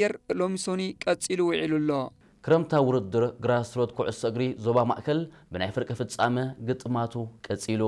ኣየር ሎሚ ሶኒ ቀጺሉ ውዒሉ ኣሎ። ክረምታዊ ውድድር ግራስሮት ኩዕሶ እግሪ ዞባ ማእከል ብናይ ፍርቂ ፍጻመ ግጥማቱ ቀጺሉ።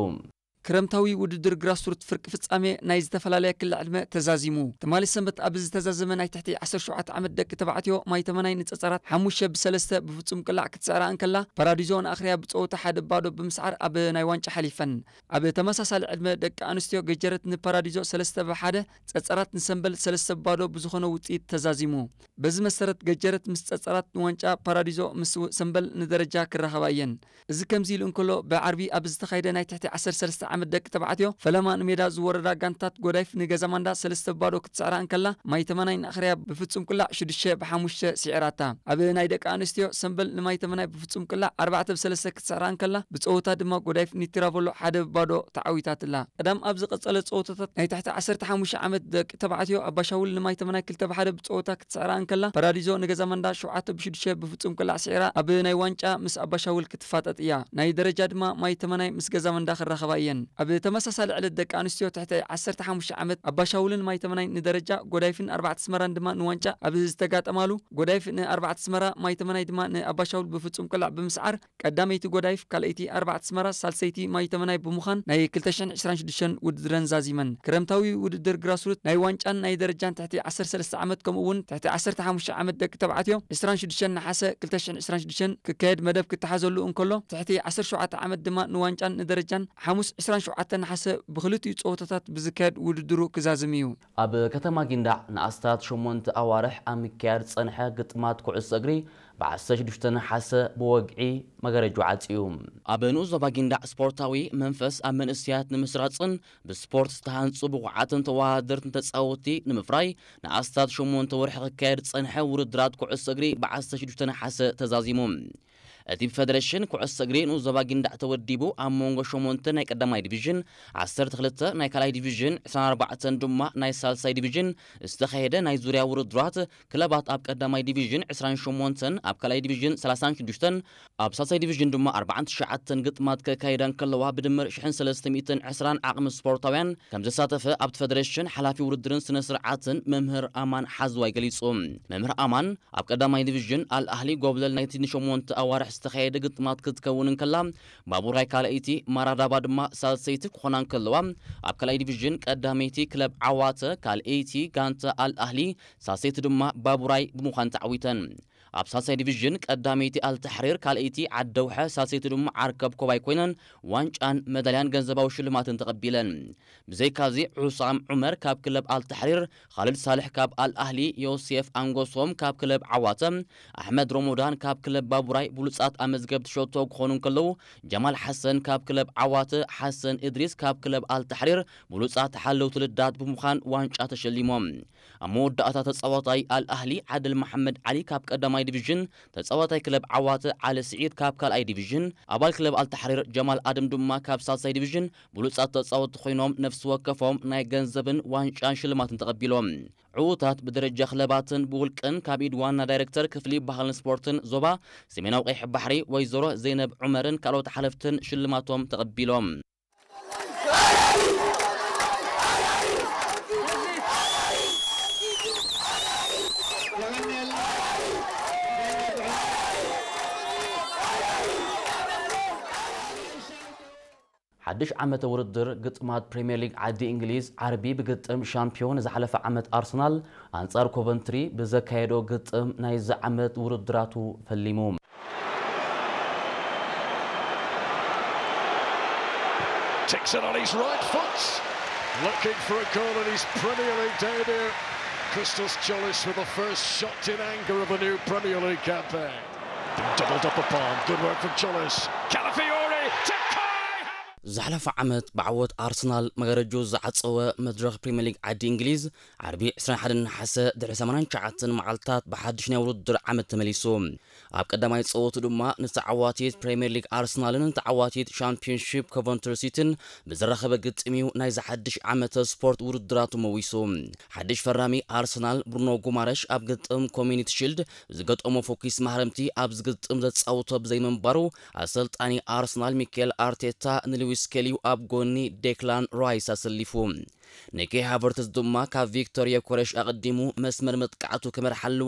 ክረምታዊ ውድድር ግራስሩት ፍርቂ ፍጻሜ ናይ ዝተፈላለያ ክሊ ዕድመ ተዛዚሙ። ትማሊ ሰንበት ኣብ ዝተዛዘመ ናይ ትሕቲ ዓሰርተ ሸውዓተ ዓመት ደቂ ተባዕትዮ ማይ ተመናይ ንጸጸራት ሓሙሽተ ብሰለስተ ብፍጹም ቅላዕ ክትስዕራ እንከላ፣ ፓራዲዞ ንኣኽርያ ብጸወታ ሓደ ባዶ ብምስዓር ኣብ ናይ ዋንጫ ሓሊፈን። ኣብ ተመሳሳሊ ዕድመ ደቂ ኣንስትዮ ገጀረት ንፓራዲዞ ሰለስተ ብሓደ፣ ጸጸራት ንሰምበል ሰለስተ ባዶ ብዝኾነ ውጽኢት ተዛዚሙ። በዚ መሰረት ገጀረት ምስ ጸጸራት ንዋንጫ፣ ፓራዲዞ ምስ ሰምበል ንደረጃ ክራኸባ እየን። እዚ ከምዚ ኢሉ እንከሎ፣ ብዓርቢ ኣብ ዝተኻየደ ናይ ትሕቲ ዓሰርተ ሰለስተ ዓመት ደቂ ተባዕትዮ ፈለማ ንሜዳ ዝወረዳ ጋንታት ጎዳይፍ ንገዛማንዳ ሰለስተ ባዶ ክትስዕራ እንከላ፣ ማይ ተመናይ ንኣኽርያ ብፍጹም ቅላዕ ሽዱሽተ ብሓሙሽተ ስዒራታ። ኣብ ናይ ደቂ ኣንስትዮ ሰምበል ንማይ ተመናይ ብፍጹም ቅላዕ ኣርባዕተ ብሰለስተ ክትስዕራ እንከላ፣ ብጸወታ ድማ ጎዳይፍ ንቲራቮሎ ሓደ ባዶ ተዓዊታትላ። ቀዳም ኣብ ዝቐጸለ ጸወታታት ናይ ትሕቲ ዓሰርተ ሓሙሽተ ዓመት ደቂ ተባዕትዮ ኣባሻውል ንማይ ተመናይ ክልተ ብሓደ ብጸወታ ክትስዕራ እንከላ፣ ፓራዲዞ ንገዛማንዳ ሸውዓተ ብሽዱሽተ ብፍጹም ቅላዕ ስዒራ ኣብ ናይ ዋንጫ ምስ ኣባሻውል ክትፋጠጥ እያ። ናይ ደረጃ ድማ ማይ ተመናይ ምስ ገዛማንዳ ክራኸባ እየን። ኣብ ተመሳሳሊ ዕለት ደቂ ኣንስትዮ ትሕቲ ዓሰርተ ሓሙሽተ ዓመት ኣባሻውልን ማይ ተመናይ ንደረጃ፣ ጎዳይፍን ኣርባዕተ ኣስመራን ድማ ንዋንጫ ኣብ ዝተጋጠማሉ፣ ጎዳይፍ ንኣርባዕተ ኣስመራ፣ ማይ ተመናይ ድማ ንኣባሻውል ብፍጹም ቅላዕ ብምስዓር ቀዳመይቲ ጎዳይፍ፣ ካልኣይቲ ኣርባዕተ ኣስመራ፣ ሳልሰይቲ ማይ ተመናይ ብምዃን ናይ ክልተ ሽሕን ዕስራን ሽዱሽተን ውድድረን ዛዚመን። ክረምታዊ ውድድር ግራስሩት ናይ ዋንጫን ናይ ደረጃን ትሕቲ ዓሰርተ ሰለስተ ዓመት ከምኡ እውን ትሕቲ ዓሰርተ ሓሙሽተ ዓመት ደቂ ተባዕትዮ ዕስራን ሽዱሽተን ነሓሰ ክልተ ሽሕን ዕስራን ሽዱሽተን ክካየድ መደብ ክተሓዘሉ እንከሎ፣ ትሕቲ ዓሰርተ ሸውዓተ ዓመት ድማ ንዋንጫን ንደረጃን ሓሙስ ዕስራን ሸውዓተ ነሓሰ ብክልቲኡ ጸወታታት ብዝካየድ ውድድሩ ክዛዝም እዩ። ኣብ ከተማ ጊንዳዕ ንኣስታት ሸሞንተ ኣዋርሕ ኣብ ምክያድ ዝጸንሐ ግጥማት ኩዕሶ እግሪ ብ ዓሰርተ ሽዱሽተ ነሓሰ ብወግዒ መጋረጅኡ ዓጽዩ። ኣብ ንኡስ ዞባ ጊንዳዕ ስፖርታዊ መንፈስ ኣብ መንእሰያት ንምስራጽን ብስፖርት ዝተሃንጹ ብቑዓትን ተወዳደርትን ተጻወትቲ ንምፍራይ ንኣስታት ሸሞንተ ወርሒ ክካየድ ዝጸንሐ ውድድራት ኩዕሶ እግሪ ብ ዓሰርተ ሽዱሽተ ነሓሰ ተዛዚሙ። እቲ ብፈደረሽን ኩዕሶ እግሪ ንኡስ ዞባ ጊንዳዕ ተወዲቡ ኣብ መንጎ ሸሞንተ ናይ ቀዳማይ ዲቪዥን፣ ዓሰርተ ክልተ ናይ ካልኣይ ዲቪዥን፣ ዕስራን ኣርባዕተን ድማ ናይ ሳልሳይ ዲቪዥን ዝተኻየደ ናይ ዙርያ ውድድራት ክለባት ኣብ ቀዳማይ ዲቪዥን ዕስራን ሸሞንተን፣ ኣብ ካልኣይ ዲቪዥን ሰላሳን ሽዱሽተን፣ ኣብ ሳልሳይ ዲቪዥን ድማ ኣርባዓን ትሽዓተን ግጥማት ከካይዳ እንከለዋ ብድምር ሽሕን ሰለስተ ሚእትን ዕስራን ዓቕሚ ስፖርታውያን ከም ዘሳተፈ ኣብቲ ፈደረሽን ሓላፊ ውድድርን ስነ ስርዓትን መምህር ኣማን ሓዝዋይ ገሊጹ። መምህር ኣማን ኣብ ቀዳማይ ዲቪዥን ኣል ኣህሊ ጎብለል ናይቲ ንሸሞንተ ኣዋርሕ ዝተኻየደ ግጥማት ክትከውን እንከላ፣ ባቡራይ ካልኣይቲ፣ ማራዳባ ድማ ሳልሰይቲ ክኾና እንከለዋ፣ ኣብ ካልኣይ ዲቪዥን ቀዳመይቲ ክለብ ዓዋተ፣ ካልኣይቲ ጋንታ ኣል ኣህሊ፣ ሳልሰይቲ ድማ ባቡራይ ብምዃን ተዓዊተን። ኣብ ሳልሳይ ዲቪዥን ቀዳመይቲ ኣልተሕሪር፣ ካልኣይቲ ዓደውሐ፣ ሳልሰይቲ ድማ ዓርከብ ኮባይ ኮይነን ዋንጫን መዳልያን ገንዘባዊ ሽልማትን ተቐቢለን። ብዘይካዚ ሑሳም ዑመር ካብ ክለብ ኣልተሕሪር፣ ኻልድ ሳልሕ ካብ ኣል ኣህሊ፣ ዮሴፍ ኣንጎሶም ካብ ክለብ ዓዋተ፣ ኣሕመድ ሮሞዳን ካብ ክለብ ባቡራይ ብሉጻት ኣመዝገብቲ ሸቶ ክኾኑ እንከለዉ፣ ጀማል ሓሰን ካብ ክለብ ዓዋተ፣ ሓሰን እድሪስ ካብ ክለብ ኣልተሕሪር ብሉጻት ሓለውቲ ልዳት ብምዃን ዋንጫ ተሸሊሞም። ኣብ መወዳእታ ተጻዋታይ ኣል ኣህሊ ዓድል መሓመድ ዓሊ ካብ ቀዳማይ ዲቪዥን፣ ተጻዋታይ ክለብ ዓዋተ ዓሊ ስዒድ ካብ ካልኣይ ዲቪዥን፣ ኣባል ክለብ ኣልተሕሪር ጀማል ኣደም ድማ ካብ ሳልሳይ ዲቪዥን ብሉጻት ተጻወትቲ ኮይኖም ነፍሲ ወከፎም ናይ ገንዘብን ዋንጫን ሽልማትን ተቐቢሎም። ዕዉታት ብደረጃ ክለባትን ብውልቅን ካብ ኢድ ዋና ዳይሬክተር ክፍሊ ባህልን ስፖርትን ዞባ ሰሜናዊ ቀይሕ ባሕሪ ወይዘሮ ዘይነብ ዑመርን ካልኦት ሓለፍትን ሽልማቶም ተቐቢሎም። ሓድሽ ዓመተ ውድድር ግጥማት ፕሪምየር ሊግ ዓዲ እንግሊዝ ዓርቢ ብግጥም ሻምፒዮን ዝሓለፈ ዓመት ኣርሰናል ኣንጻር ኮቨንትሪ ብዘካየዶ ግጥም ናይዚ ዓመት ውድድራቱ ፈሊሙ። Takes it on his right foot. Looking for a goal in his Premier League debut. Christos Tzolis with the first shot in anger of a new Premier League campaign. Been doubled up upon. Good work from Tzolis. Calafiori to Kai. ዝሓለፈ ዓመት ብዓወት ኣርሰናል መጋረጅኡ ዝዓጸወ መድረኽ ፕሪምየር ሊግ ዓዲ እንግሊዝ ዓርቢ ዕስራን ሓደን ነሓሰ ድሕሪ ሰማንያን ትሽዓተን መዓልታት ብሓድሽ ናይ ውድድር ዓመት ተመሊሱ። ኣብ ቀዳማይ ጸወቱ ድማ ንተዓዋቲት ፕሪምየር ሊግ ኣርሰናልን ንተዓዋቲት ሻምፒዮንሺፕ ኮቨንትሪ ሲቲን ብዝራኸበ ግጥም እዩ ናይዚ ሓድሽ ዓመተ ስፖርት ውድድራቱ መዊሱ። ሓድሽ ፈራሚ ኣርሰናል ብሩኖ ጉማረሽ ኣብ ግጥም ኮሚኒቲ ሺልድ ዝገጠሞ ፎኪስ ማህረምቲ ኣብዚ ግጥም ዘጻውቶ ብዘይምንባሩ ኣሰልጣኒ ኣርሰናል ሚኬል ኣርቴታ ንሉዊስ ስኬሊ ኣብ ጎኒ ዴክላን ራይስ ኣሰሊፉ። ንኬይ ሃቨርትዝ ድማ ካብ ቪክቶር ዮኮረሽ ኣቐዲሙ መስመር መጥቃዕቱ ክመርሓሉ